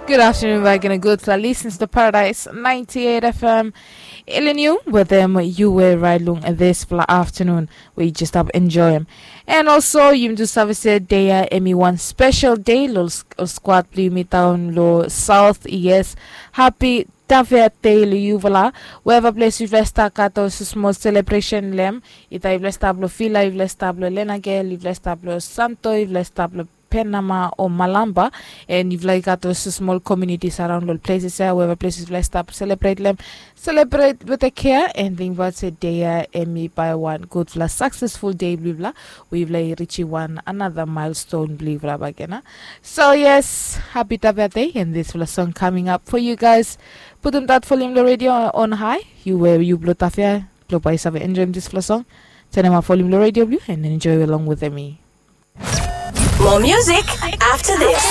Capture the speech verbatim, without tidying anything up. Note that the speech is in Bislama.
Good afternoon back and a good fla listens to Paradise ninety-eight F M. Elin yu wetem yu we raid long dispela afternoon we yu just stap enjoyim. And also yumi tu save se dei ya em i wan special day lo squad blo yumi down lo South. Yes, happy Tavia Day lo yufala. Wherever place yufala stap gat ol small celebration lem. Ita yufala stap lo Vila, yufala stap lo Lenagel, yufala stap lo Santo, yufala stap lo Penama o Malamba, and yufala i gat ol small communities around ol places ya, wherever places yufala stap celebrate lem. Celebrate with a care and think about se day ya em i bai wan gudfala successful day blo yufala, we yufala i reach wan another milestone blo yufala back ena. So yes, happy Tavia Day and this fala song coming up for you guys. Putum that volume lo radio on high. You were you blo Tavia, blo bai save enjoy this fala song. Turn up volume lo radio blo and enjoy along with me. More music after this.